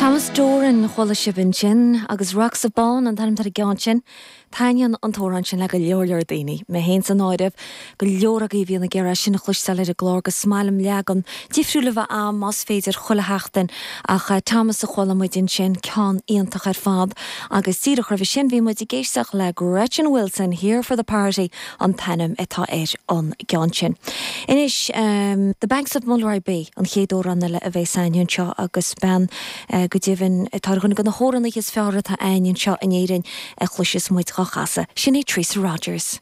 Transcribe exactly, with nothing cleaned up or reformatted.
Thomas Doran chuala sibh ansin agus Rocks of Bawn an t-ainm ar an gceann sin. Taitníonn an t-amhrán sin le go leor leor daoine, mé féin san áireamh go leor agaibh bhíonn ag iarraidh sin a chloisteáil ar an gclár agus is maith liom leagan difriúil a bheith agam más féidir chuile sheachtain ach uh, Thomas a chuala muid ansin ceann iontach ar fad agus díreach roimhe sin bhí muid ag éisteacht le Gretchen Wilson here for the party an t-ainm atá ar an gceann sin. Anois um, The Banks of Mulroy Bay an chéad amhrán eile a bheidh againn anseo agus bean uh, go deimhin atá ar dhuine de na hamhránaithe is fearr atá againn anseo in Éirinn a chloisfidh muid dhá chasadh. Sin é Teresa Rogers.